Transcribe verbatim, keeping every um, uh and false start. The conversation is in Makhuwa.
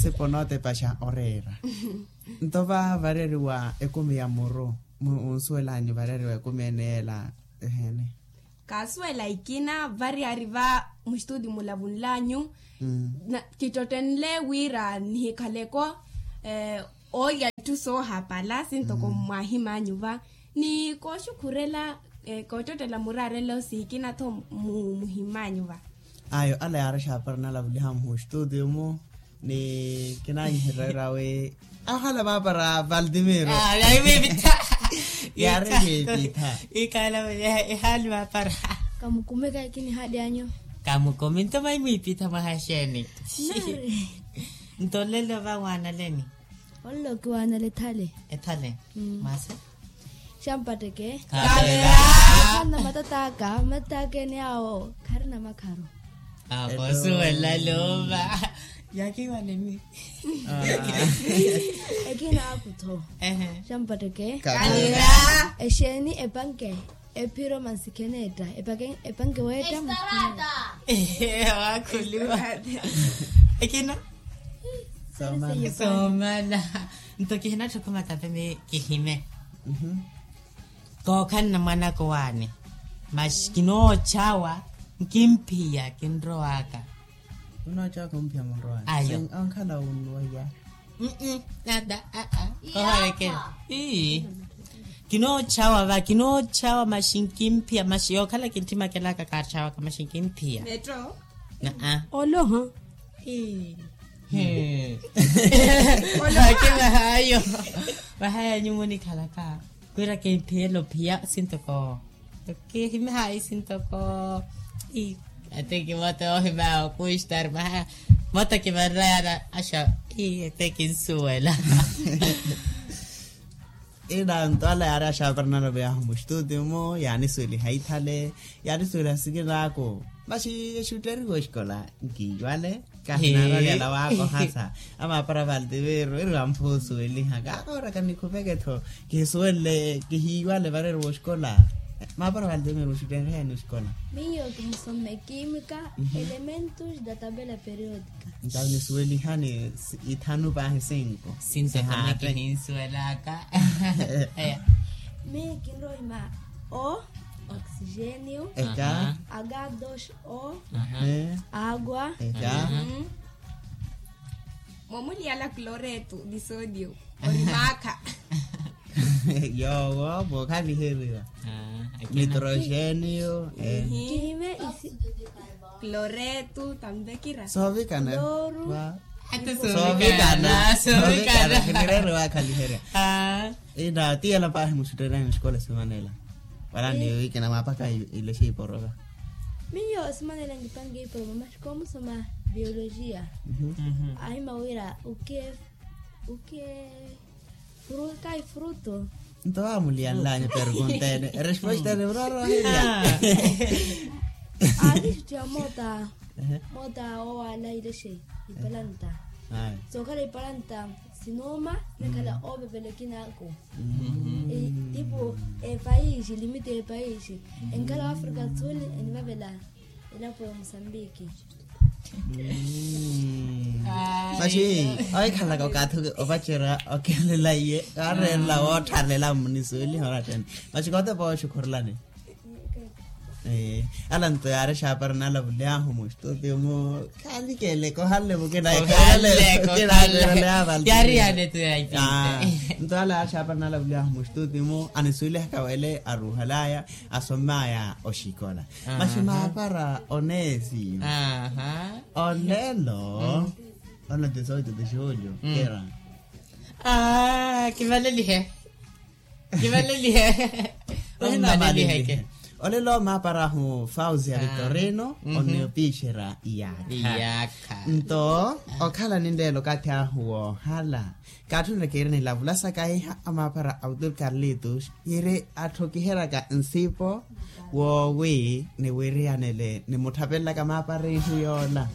Sipo nootepaxa oreera. Nto va vareeriwa ekumi ya muru, onsuwelanyu vareeriwa ekumi ene yeela? Eheene. Kaasuwela ikina variyari va muxituti mulavunlanyu. Kittottenle wira nihikhaleko oolya etthu soohapala sintoko mwahimanyu va, ni kooxukhurela koottottela muraarela osikina-tho muhimanyu va. Ayo ala yaari axaapara nalavuliha muxituti-mu. Ni kinanyihererya wi ahala maapara valtimiro. Yaari kiipitha. Ikala ehali maapara. Kamukumeka ikini hali anyu. Kamukumi nto mayi mwiipitha mwaha xeeni? Nto olelo va waanaleni? Olelo kiwaanale ethale. Ethale. Masi. Xampatteke. Khalera. Khanna matataka matataka ene awo kharina makharu. Akosuwela loova. Yakiwanemi. Ekina akutho. Xampatteke. Khalera. Exeeni epanke ephiro mansikhenetta epanke weetta. Wakhuluwa. Ekina. Soomala. Nto kihinatthu khumata peme kihime. Kookhalana mwanaka owaani. Masi kinoochawa nkimphiya kinrowaka. Unoochawa kimphiya munrowaka ayo. Onkhala unnuweya. Nada. Koholekela. Ii. Kinoochawa va kinoochawa masi nkimphiya masi yookhala kinttimakelaka kaachawaka masi nkimphiya. Metro. Naa. Oloha. Ii. He. Olake vahaayo. Vahaayo anyu munikhalaka wira kimphiya elophiya sintoko. Kihimahayi sintoko. Ii. Ate kimoto ohimaya okustar maha. Moto kimarayana asha. Ii ate kinsuwela. Ina nto ala yaari axaapara naloveyahu muxituti-mu yaanisuweliha ithale. Yaanisuweliha sikinaaku. Masi exutteriwa oxikola nkiiwale. Kahinarariyala waakohasa. Amaapara valtimiro iri wamphusuweliha kaakooraka nikhupeke-tho. Kihisuwelle kihiiwale vareeriwa oxikola. Maapara valtimiro muxutteriha yaani oxikola? Miyo kimusome kiimika elementos da tabela periodica. Ntawe nisuwelihani ithanu paahi cinco. Cinco kama kihinsuwelaka. Miyo kinrohima o oxigênio. Eka. H dos o. Agua. Eka. Mwamuliyala cloreto de sodio. Ori maakha. Yoowo vookhaliherya. Nitrogênio. Kihime isi. Cloreto tambekira soovikana. Soovikana soovikana kinireeriwa akhaliherya. Ina tiyela paahi muxutteryanyu oxikola esimanela. Wala ni wikina mwaapaka ilexe iporoka. Miyo esimanela nkipanke iporoka masi koomusoma biologia. Ahima wira uke uke. Kayi fruto. Nto vaamuliyanlanya pergunta ene resposta ene murorohelya. Aakixuttiha moota moota owaala ilexe ipalanta. Sookhala ipalanta sinuuma nakhala oovevela ekinaaku. Tipu epaisi limiti epaisi enkhala wafrika do sul enivavela. Elapo ya musambiki. Masi oikhalaka okathi opacerya okelela iye kaareerela woottharela mmunisuweliha orattene. Masi kootepa oxukhurulani. Ala nto yaari exaapara naalavuly'ahu muxituti mu khaali keeleke ohanle mukina ekhalekeele. Yaari yaani etu ya ipinta. Nto ala yaari exaapara naalavuly'ahu muxituti mu anisuwelihaka wele aruuhal'aya asom'aya oxikola. Masi maapara oneesi. Olelo. Ona dezoito de julho kera. Kivalelihe. Kivalelihe. Olelo maaparahu fauzi ya victorino. Oniopiixera iyakha. Nto okhala ninlelo okathi ahu woohala. Kaatthunle kiiri nilavula saka hiha amaapara autor carlitos yiri atthu kiheryaka nsipo woowi niwiriyanele nimutthapenlaka maapara ihu yoola.